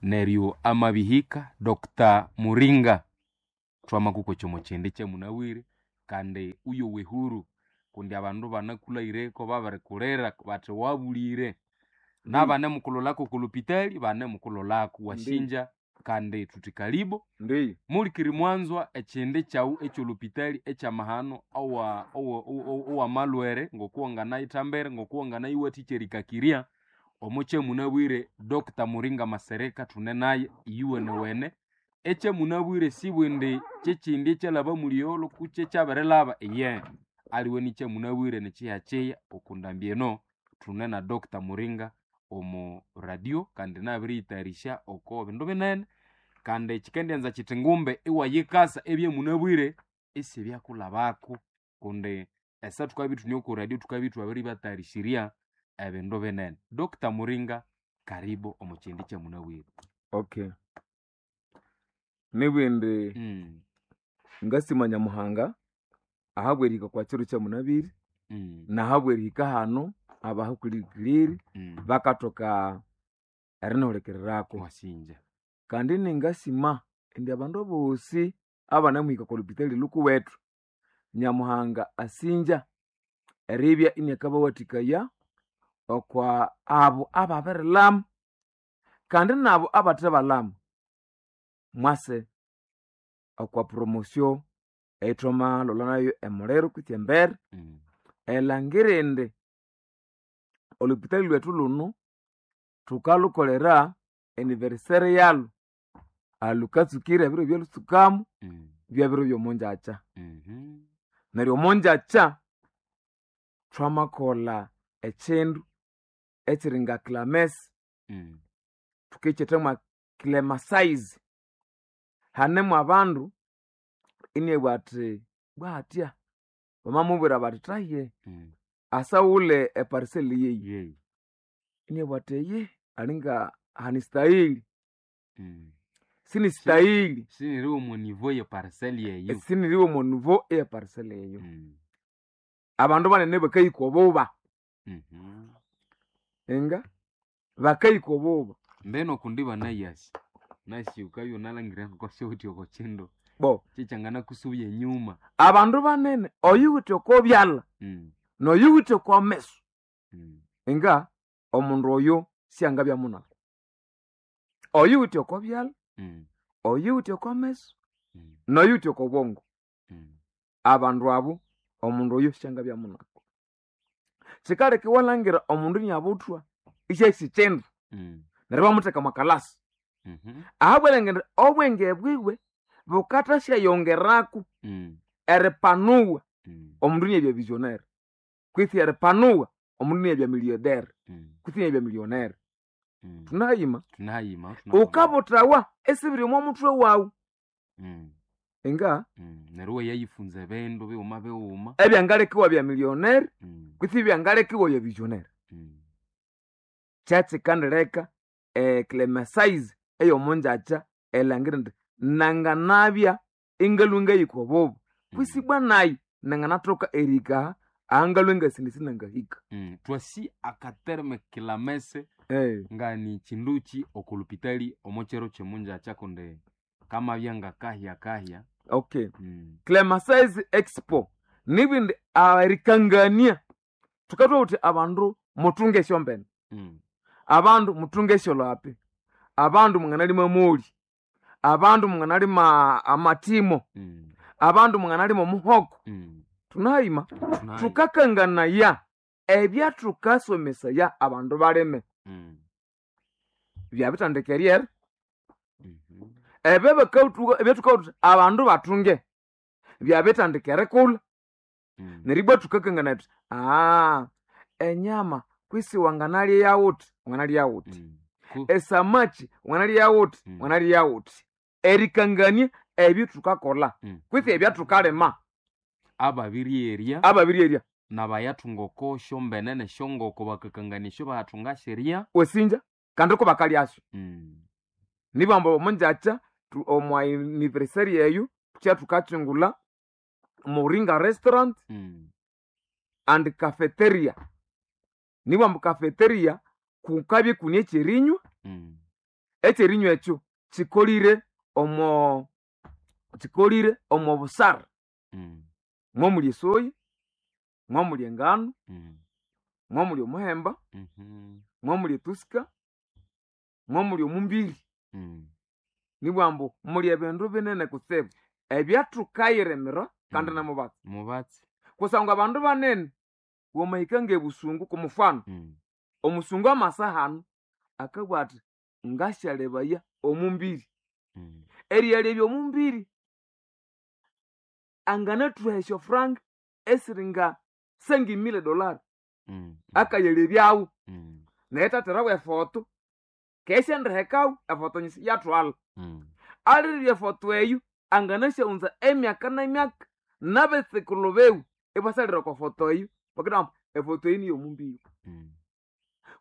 Neryo amabihika Dr. Muringa twamakuko chomo chende kyamunabwire kandi uyo wehuru kundi abandu banakulhaireko babirikulira bathi wabulire nabanemukulolako kulupitali banemukulolako wasinja kandi thuthi kalibo. Ndiyo. Mulikiri mwanzwa ekyindi kyawu ekyolupitali ekyamahano owamalwere ngokuwanganayithambere ngokuwanganayiwathikya erikakirya omo kyamunabwire Dr. Muringa Masereka thune naye iyuwenewene. Ekyamunabwire sibwindi kyekyindi ekyalhaba muliyolo kutse ekyabirilhaba iye aliwe nikyamunabwire nikyiyakyiya okundambi eno thune na Dr. Muringa omo radio kandi nabiriyitayarisya oko bindu binene kandi kyikendianza kyithi ngumbe iwayikasa ebyamunabwire isibyakulhabako kundi esa thukabya ithune oko radio thukabya ithwabiribatayarishirya ebindu binene. Dr. Muringa karibu omo kyindi kyamunabwire. Okay. Nibwindi ngasima Nyamuhanga ahabwerihika kwa kiro kyamunabwire nahabwerihika hano abahukulikiriri bakathoka erinihulikiriraku. Wasinja. Kandi ningasima indi abandu abosi abanamuhika okwa lupitali lhukuwethu Nyamuhanga asinja eribya iniakabawathikaya okwa abo ababirilhama kandi nabo abathebalhama mwase okwa promotion eyithwamalholha nayo emuliro kwitsi embere elhangira indi olhupitali lhwethu lhunu thukalhukolera anniversaire yalhu ahalhukatsukira ebiro ebyalhutsukamu byabiro byomongyakya. Neryo omongyakya thwamakolha ekyindu ekyiri nga clamesi thukikyetha mwa clamasize. Hanemu abandu inabugha athi bwahatya bamamubwira bathi thaye asaghulhe eparcel yeyi inabugha athi eyi alinga hanistahili sinistahili Siniri omo niveau ye parcel yeyo. Siniri omo niveau eye parcel eyo. Abandu banene bakahika obuba inga bakahika obuba. Mbeno kundi banayasi nasi ukabya wunalhangira ngokosiwuthi oko kyindu Bo kyekyanganakusubya enyuma. Abandu banene oyuwithe oko byalha noyuwithe oko meso inga omundu oyo syangabya munalhu. Oyuwithe oko byalha, oyuwithe oko meso, noyuwithe oko bwongo abandu abo omundu oyo syangabya munalhu. Kyikaleka iwalhangira omundu iniabuthwa isyahisa ekyindu neryo ibamutheka omwa kalasi. Ahabw'erilhangira indi obwenge bwiwe bukathasyayongeraku eripanuwa omundu iniabya visionnaire kwitsi eripanuwa omundu iniabya millionaire kwitsi iniabya millionaire. Thunahayima? Thunahayima. Wukabuthawa esibiri omo muthwe wawu inga Neryo iwayayifunza ebindu bighuma bighuma. Ebyangaleka iwabya millionaire kwitsi ebyangaleka iwabya visionnaire. Kyekikandileka eclamasize eyomongyakya erilhangira indi nanganabya ingalhwa ngahika obuba kwisi ibwa nayi nanganathoka erihika aha ahangalhwa ingasindi sinangahika. Thwasi akaterme kilamese ngani kyinduki oko lupitali omo kyiro kyomungyakya kundi kamabya ngakahya kahya. Okay. Clamasize Expo nibindi erikangania thukathowa thuthi abandu muthunge esyombene abandu muthunge esyolhapi abandu mwanganalima amoli abandu mwanganalima amathimo abandu mwanganalima omuhoko. Thunahayima? Thukakanganaya ebyathukasomesaya abandu balime byabithandika eryera ebyo bakawuthuka ebyathukawutha abandu bathunge byabithandika erikulha. Neryo ibwa thukakanganaya thuthi enyama kwisi wanganalya yawuthi wanganalya yawuthi esamaki wanganalya yawuthi wanganalya yawuthi. Erikangania ebyo thukakolha kwitsi ebyathukalima Ababiryerya ababiryerya nabayathunga oko syombene nesyongoko bakakangania esyo bayathunga syerya. Wasinja kandi kubakalyasyo. Nibamba omongyakya omwa anniversary eyo thukya thukakyungulha Muringa restaurant and cafeteria. Nibwamba cafeteria kukabya ikune ekyerinywa. Ekyerinywa ekyo kikolire omo busara. Mwamuli esoya, mwamuli engano, mwamuli omuhemba, mwamuli etusika, mwamuli omumbiri. Nibwambu muli ebindu binene kutsibu ebyathukayiremera kandi nemubatsi. Mubatsi. Kusangwa abandu banene wamahika ngebusungu kumufano. Omusungu amasa hano akabugha athi ngasyalebaya omumbiri. Eriyalebya omumbiri anganathuha esyofranka esiri nga $5,000 akayalebyawo. Naye thatherawo efoto kesyandirihekawo efoto nyisi yathwala. Alirirya efoto eyo anganasyawunza emyaka n'emyaka n'abetsukulhu biwe ibasalira okwa foto eyo bakabugha ambu efoto eyi niyomumbiri.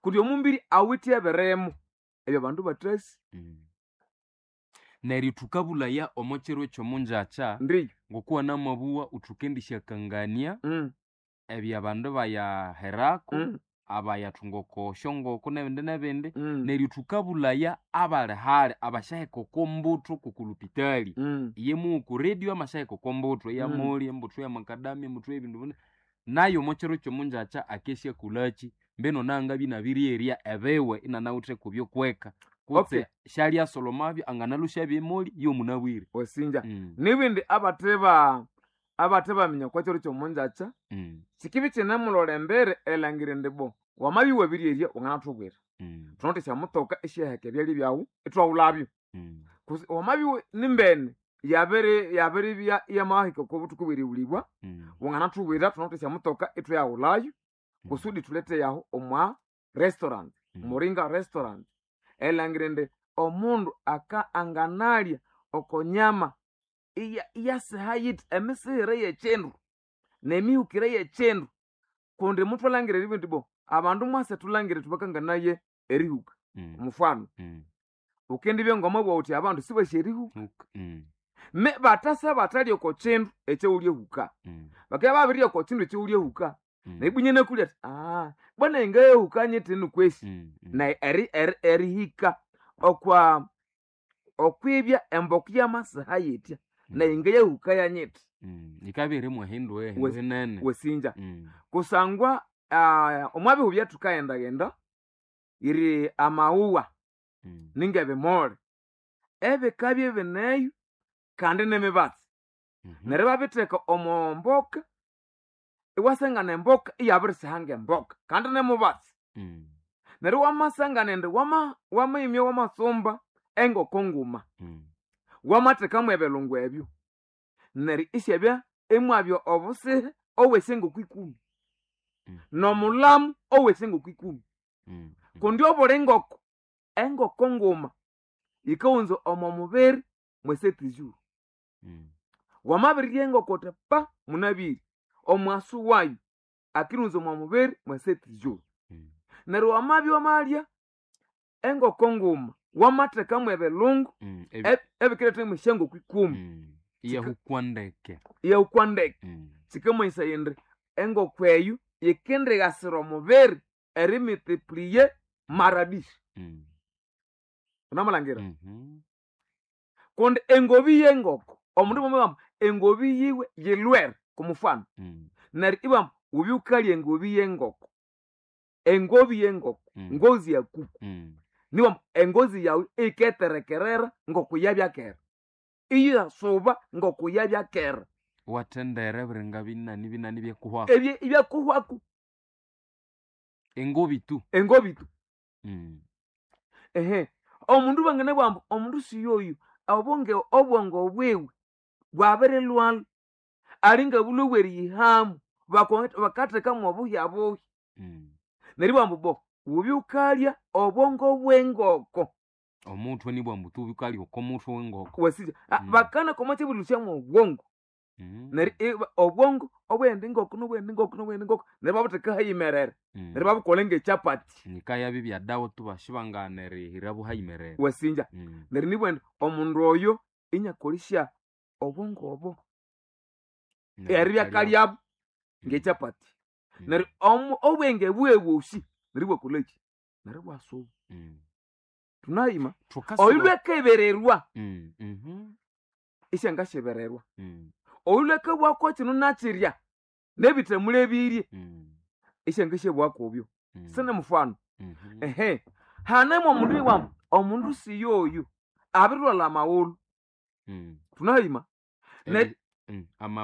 Kundi omumbiri awithe ebirimo ebyo abandu bathasi. Neryo thukabulaya omo kiro ekyomungyakya Ndiyo. ngokuwa namabugha uthukendisyakangania ebyabandu bayaherako abayathunga oko syongoko nebindi nebindi. Neryo thukabulaya abali hali abasyaheka oko mbuthu kokulupitali. Iye mughu ku radio amasyaheka oko mbuthu eyamoli, embuthu yamakadamia, embuthu yebindu binene. Nayo omo kiro kyomungyakya akesyakolhaki mbino nangabya inabiriyerya ebiwe inanawithe kubyokweka kutse syalyasolomabyo anganalhusyabya emoli yomunabwire. Wasinja. Nibindi abathe baminya okwa kiro kyomungyakya sikibya ikinemulolha embere erilhangira indi bo wamabya iwabiryerya wanganathubwira. Thunawithe esyamutoka esyaheka ebyalya byawu ithwaghulhabyo. Kutse wamabya nimbene yabiribya iyamahika oko buthuku bwerighulibwa wanganathubwira thunawithe esyamutoka ithwayaghulhayo kusudi thulete yahu omwa restaurant, Muringa restaurant. Erilhangira indi omundu aka anganalya oko nyama iyasiha yithi emisighire yekyindu nemihukire yekyindu kundi muthwalhangira eribugha indi bo abandu mwase thulhangire thubakanganaye erihuka. Omufano wukendibya ngomwabugha wuthi abandu sibasi erihuka. Me bathasa bathalya oko kyindu ekyawulyahuka. Bakabya babirirya oko kyindu ekyawulyahuka neribwa inakulya athi bwana ngayahuka nyithinu kwesi. Nayi erihika okwa okwibya emboka yamasiha yithya nayi ngayahuka yanyithi. Yikabya irimu ehindu ehindu hinene. Wasinja. Kusangwa omwa bihu ebyathukayendaghenda yiri amawuwa ningebimoli ebikabya ibineyo kandi nemibatsi. Neryo ibabitheka omo mboka iwasangana emboka iyabirisiha ngemboka kandi nemubatsi. Neryo wamasangana indi wamahimya wamatsumba engoko nguma wamathekamu ebilungu ebyo neryo isyabya imwabya obusihe obw'esyangoko ikumi n'omulhamu ow'esyangoko ikumi. Kundi obuli ngoko engoko nguma yikawunza omo mubiri mw'esetijuru. Wamabirirya engoko wuthi pa munabire omughaso wayo akiriwunza omo mubiri mw'esetijuru. Neryo wamabya wamalya engoko nguma wamathekamu ebilungu ebikiretha mwesyangoko ikumi. Iyahukwa ndeke. Iyahukwa ndeke. Kikamanyisaya indi engoko eyo yikindighasira omubiri erimultiplier mara dix. Wunamalhangira? Kundi engobi y'engoko omundu mwamubwira engobi yiwe yilhwere kumufano. Neryo ibabugha wubye wukalya engobi y'engoko. Engobi y'engoko ngozi ya kuku. Nibabugha engozi yawu iyiketerekerera ngokuyabya kera. Iyasuba ngokuyabya kera. Iwathendera ebiringa binani binani ebyakuhwaku. Ebyakuhwaku. Engobi tu. Engobi tu. Omundu banganabugha ambu omundu siyoyu obwongo bwiwe bwabirilhwalha alinga bulhwe bweriyihamu bakathekamu obuhya buhya. Neryo ibabugha ambu bo wubye wukalya obwongo bw'engoko. Omuthwe nibugha ambu tu wukalya oko muthwe w'engoko. Wasinja. Bakanakoma ekyabulhusyamu obwongo. Neryo obwongo obw'eyindi ngoko n'obw'eyindi ngoko n'obw'eyindi ngoko neryo ibabutheka hayimerere. Neryo ibabukolha ng'ekyapati. Nikayabya ebyadawa tu basibangana erihira buhayimerere. Wasinja. Neryo nibugha indi omundu oyo inyakolesya obwongo obo eribya akalyabu ng'ekyapati. Neryo obwenge bwiwe bwosi neryo ibwakolhaki? Neryo ibwasuba. Tunahima. Thukasaba- Oyu lwekebererwa isyangashebererwa. Oyu lwekebwako kino nakirya nebithamulebirye isyangashyebwakobyo. Sine mufano. Ehe, hanemo omundu iwamu omundu siyoyu abirilwala amawulhu. Tunahima. Ama